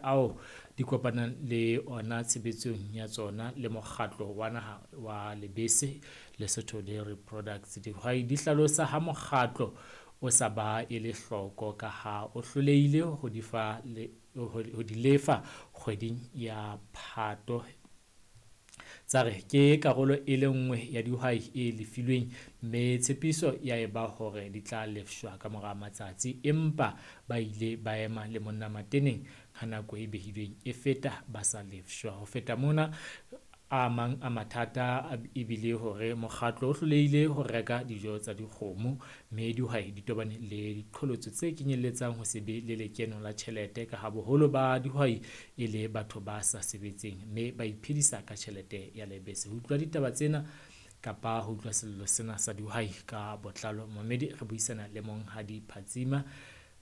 ao di kopanang le ona tshebetsong ya tsona le mokgatlo wa naha wa lebese Lesotho Dairy Products. Dihwai di hlalosa ha mokgatlo o sa ba ele hloko ka ha o hlolehile ho di fa le ho di lefa kgweding ya Phato. Tsa re ke karolo e le nngwe ya dihwai e lefilweng mme tshepiso ya eba hore di tla lefshwa ka mora matsatsi empa ba ile ba ema le monna mateneng ha nako e behilweng e feta ba sa lefshwa. Ho feta mona, a mang a mathata e bile hore mokgatlo o hlolehile ho reka dijo tsa dikgomo mme dihwai di tobane le diqholotso tse kenyelletsang ho se be le lekeno la tjhelete ka ha boholo ba dihwai e le batho ba sa sebetseng mme ba iphedisa ka tjhelete ya lebese. Ho utlwa ditaba tsena kapa ho utlwa sello sena sa dihwai ka botlalo, momamedi re buisana le Monghadi Phatsima.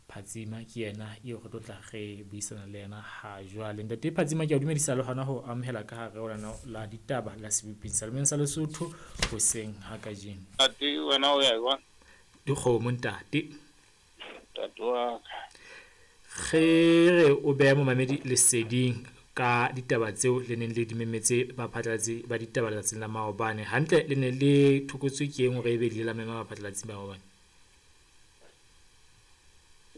Phatsima ke yena eo re tlo tla re buisana le yena ha jwale. Ntate Phatsima, ke a dumedisa le hona ho amohela ka hare ho lenaneo la ditaba la Seboping sa Lemeng sa Lesotho hoseng ha kajeno. Ntate, wena o ya jwang? Dikgomo ntate. Ntate wa ka. Re re o behe momamedi leseding ka ditaba tseo le neng le di memetse baphatlalatsi ba ditaba letsatsing la maobane. Hantle le ne le thokotswe ke eng hore ebe le ile la mema baphatlalatsi ba maobane?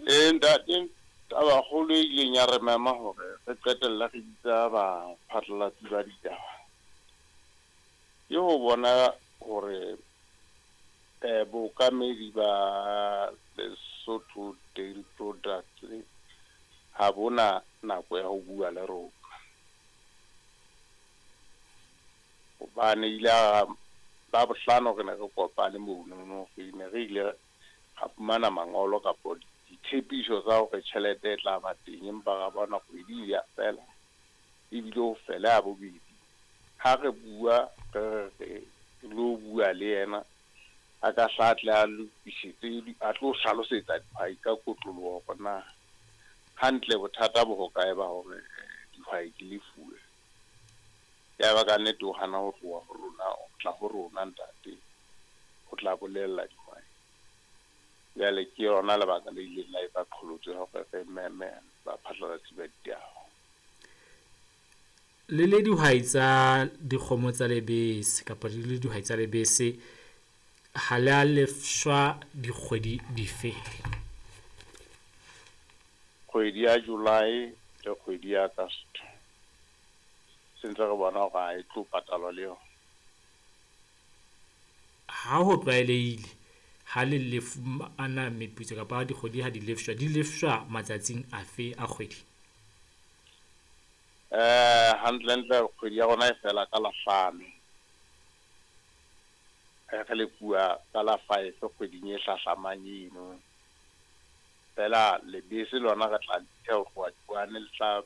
Ee, ntate, tabakgolo e ileng ya re mema hore re qetelle re bitsa baphatlalatsi ba ditaba ke ho bona hore bookamedi ba Lesotho Dairy Products ha bona nako ya ho bua le rona. Hobane ile a Labohlano re ne re kopane monono, re ne re ile ra fumana mangolo kapo ditshepiso tsa hore tjhelete e tla ba teng, empa ra bona kgwedi ya fela ebile ho fela ya bobedi. Ha re bua re re re lo bua le yena, a ka hla tle a lokisetse, a tlo hlalosetsa dihwai ka kotloloho hore na hantle bothata bo hokae ba hore dihwai di lefuwe. Ya ba ka nnete o hana ho tloha ho rona, o tla ho rona ntate, o tla bolella dihwai. Jwale ke yona lebaka le ileng la eba qholotso ya hore re meme baphatlalatsi ba ditaba. Le le dihwai tsa dikgomo tsa lebese kapa le le dihwai tsa lebese, ha le a lefshwa dikgwedi dife? Kgwedi ya July le kgwedi ya August. Se ntse re bona hore ha e tlo patalwa le yona. Ha ho tlwaelehile ha le lefumana meputso kapa dikgwedi ha di lefshwa, di lefshwa matsatsing afe a kgwedi? Hantle-ntle kgwedi ya rona e fela ka la hlano. Re lefuwa ka la 5 kgweding e hlahlamang eno. Fela lebese lona re tla le ho tloha di-1, le tla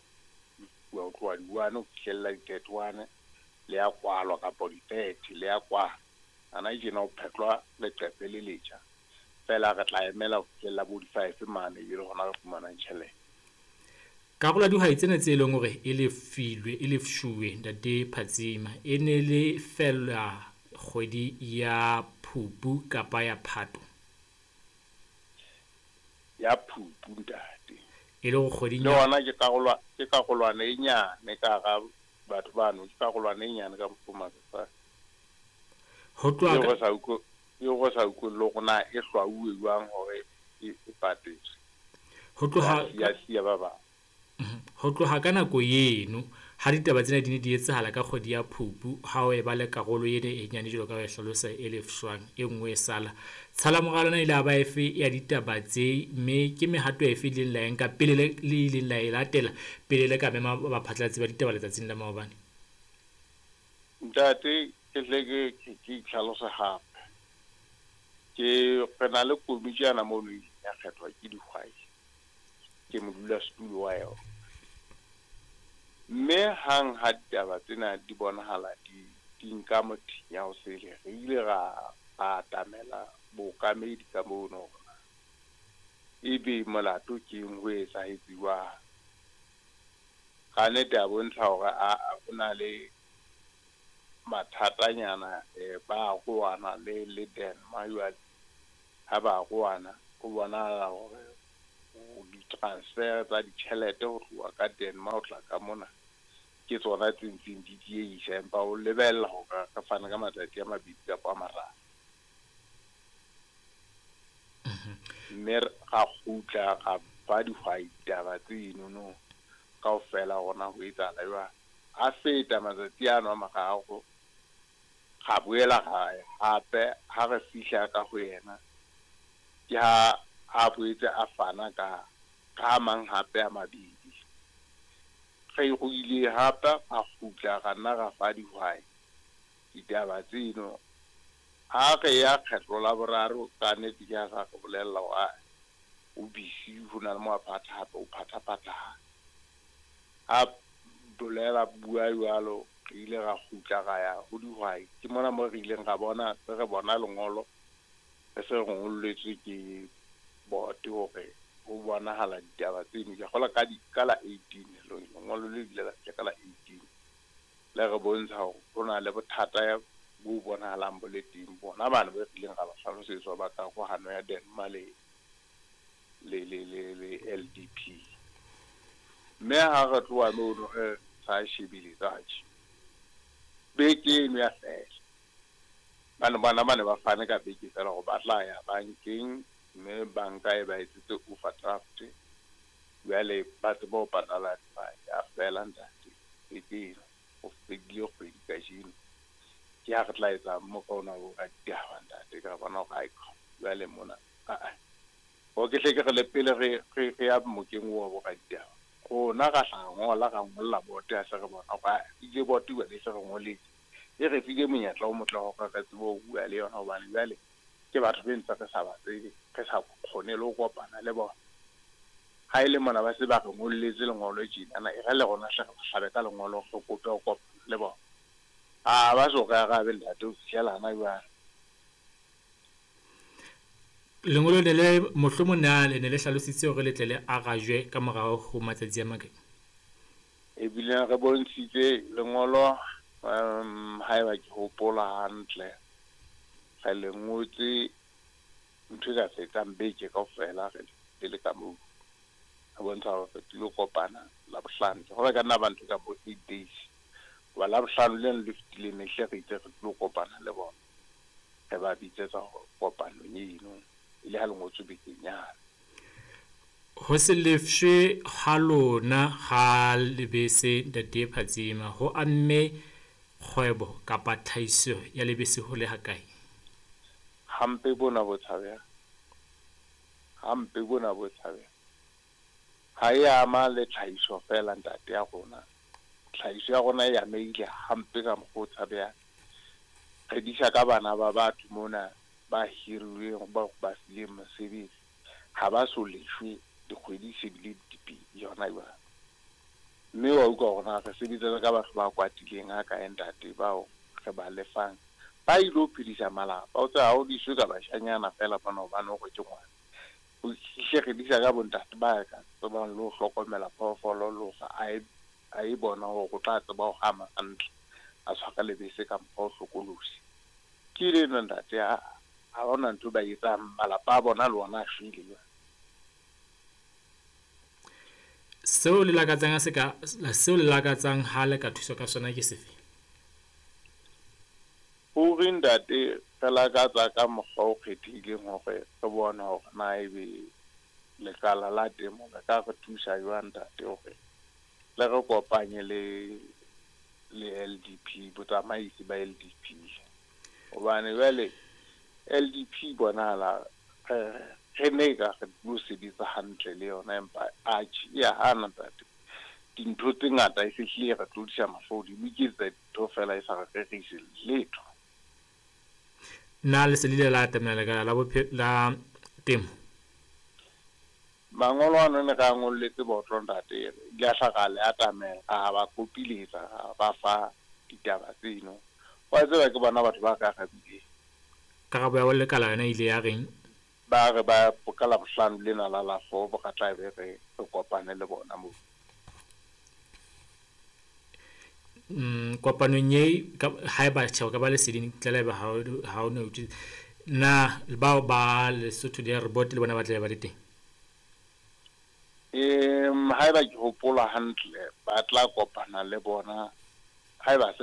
lefuwa ho tloha di-1 ho fihlella di-31, le ya kwalwa kapa di-30 le ya kwalwa. Hana tjena ho phetlwa leqephe le letjha. Fela re tla emela ho fihlella bo di-5 mane ebe le hona re fumanang tjhelete. Karolo ya dihwai tsena tse leng hore e lefilwe, e lefshuwe ntate Phatsima, e ne le fela kgwedi ya Phupu kapa ya Phato? Ya Phupu ntate. E le hore kgweding Le yona ke karolo, ke karolwana e nyane ka hara batho bano, ke karolwana e nyane ka mokgwa o makatsang. Ho tloha Eo re sa utlwe, eo re sa utlwe le hore na e hlwauwe jwang hore e patetswe. Ho tloha Ya siya ba bang. Ho tloha ka nako eno ha ditaba tsena di ne di etsahala ka kgwedi ya Phupu, ha o eba le karolo ena e nyane jwalo ka ha o e hlalosa e lefshwang, e nngwe e sala. Tshala morao lona ile ya ba efe ya ditaba tse, mme ke mehato efe e ileng la e nka pele le ileng la e latela pele le ka mema baphatlalatsi ba ditaba letsatsing la maobane? Ntate, ke tle ke itlhalose hape. Ke re na le komiti yana mono e ileng ya kgethwa ke dihwai. Ke modulasetulo wa yona. Mme hang ha ditaba tsena di bonahala di nka mothinya ho sele, re ile ra atamela bookamedi ka mono hore ebe molato ke eng, ho etsahetse jwang. Ka nnete a bontsha hore a ho na le mathatanyana, ba arohana le Denma jwale. Ha ba arohana ho bonahala hore Di-transfer tsa ditjhelete ho tloha ka Denmark ho tla ka mona ke tsona tse ntseng di diehisa, empa o lebella hore re fane ka matsatsi a 2 kapa a 3. Mme ra kgutla ra fa dihwai ditaba tseno kaofela rona ho etsahala jwang. A feta matsatsi ano a 3, ra boela ra ya hape. Ha re fihla ka ho yena, ke ha a boetse a fana ka a mang hape a 2. Re ruile hape, ra kgutla ra nna ra fa dihwai ditaba tseno. Ha re ya kgetlo la boraro, ka nnete ke ha sa re bolella hore o busy, ho na le mo a phatha hape o phathaphatha. Ha bolela bua jwalo, re ile ra kgutla ra ya ho dihwai. Ke mona mo re ileng ra bona, se re bona lengolo re se re ngolletswe ke board hore ho bonahala ditaba tseno. Ke kgolwa ka la 18, lengolo le ile la fihla ka la 18, le re bontsha hore ho na le bothata bo bonahalang bo le teng. Bona bana ba re ileng ra ba hlalosetswa ba karohano ya Denmark le LDP. Mme ha re tloha mono re sa shebile tjhe, beke eno ya fela. Bane bona ba ne ba fane ka beke fela hore ba tla ya bankeng, mme banka e ba etsetse overdraft, jwale ba tsebe ho patala dihwai. Ya fela ntate, beke eno ho fedile kgwedi kajeno. Ke ha re tla etsa mo ka ona bo raditaba ntate, ka bona hore ae jwale mona aa o ke hle ke re le pele re ya mokeng wa bo raditaba, rona ra hla ngola ra ngolla boto, ya se re bona hore ile boto jwale e se re ngoletse, e re file monyetla o motle hore re tsebe ho bua le yona, hobane jwale ke batho be ntse re sa ba tsebe, re sa kgone le ho kopana le bona. Ha e le mona ba se ba re ngolletse lengolo tjenana, e re le rona hle re ba hlabe ka lengolo, re kope ho kopana le bona. A ba so re arabe ntate ho fihlela hana jwale. Lengolo le le mohlomong na le ne le hlalositse hore le tle le arajwe ka morao ho matsatsi a makae? Ebile re bontshitse lengolo, haeba ke hopola hantle, re le ngotse ntho e ka fetang beke kaofela re le ka moo. Re bontsha hore re tlilo kopana Labohlano. Ke kgolwa e ka nna ba ntho ka bo 8 days. Hoba Labohlano leno le fetileng ne hle re itse re tlilo kopana le bona. Re ba bitsetsa kopanong eno, e le ha le ngotswe bekeng yane. Ho se lefshwe ha lona ha lebese ntate Phatsima ho amme kgwebo kapa tlhahiso ya lebese ho le hakae? Hampe bona bo tshabeha. Hampe bona bo tshabeha. Ha e ama le tlhahiso fela ntate ya rona. Tlhahiso ya rona e amehile hampe ka mokgwa o tshabehang. Re disa ka bana ba batho mona ba hirilweng, ba ba fileng mosebetsi, ha ba so leshwe dikgwedi se bile di pedi yona jwale. Mme wa utlwa hore na re sebetsa ka batho ba kwatileng ha kae ntate, bao re ba lefang ba ilo phedisa malapa. O tseba ha o diswe ka bashanyana fela mona hobane hore ke ngwana. O hle re disa ka bontate ba ka tsebang le ho hlokomela phoofolo, le hore a e bona hore o tla tseba ho hama hantle, a tshwara lebese ka mokgwa o hlokolosi. Ke leno ntate, ha hona ntho ba etsang, malapa a bona le ona a shwele jwale. Seo le lakatsang se ka, seo le lakatsang ha le ka thuswa ka sona ke sefe? Ruri ntate, re lakatsa ka mokgwa o kgethehileng hore re bone hore na ebe lekala la temo le ka re thusa jwang ntate, hore le re kopanye le LDP, botsamaisi ba LDP. Hobane jwale LDP bonahala re ne ka re tlo sebetsa hantle le yona, empa atjhe e ya hana ntate. Dintho tse ngata e se hlile re tlodisa mahlo hodimo, e iketsetsa dintho fela e sa re rerise letho. Na le se le ile la atamela lekala la la temo? Mangolo ano ne re a ngolletse botlo ntate, ile a hla ra le atamela, ra ba kopiletsa, ra ba fa ditaba tseno. Wa tseba ke bona batho ba ka arabileng. Karabo ya lekala yona ile ya reng? Ba re ba ka Labohlano lena la la 4 re tla be re kopane le bona moo. Kopanong e haeba tjhe ka ba leseding ntle le haeba ha o no na bao ba Lesotho Dairy Board le bona ba tla be ba le teng? Haeba ke hopola hantle, ba tla kopana le bona haeba se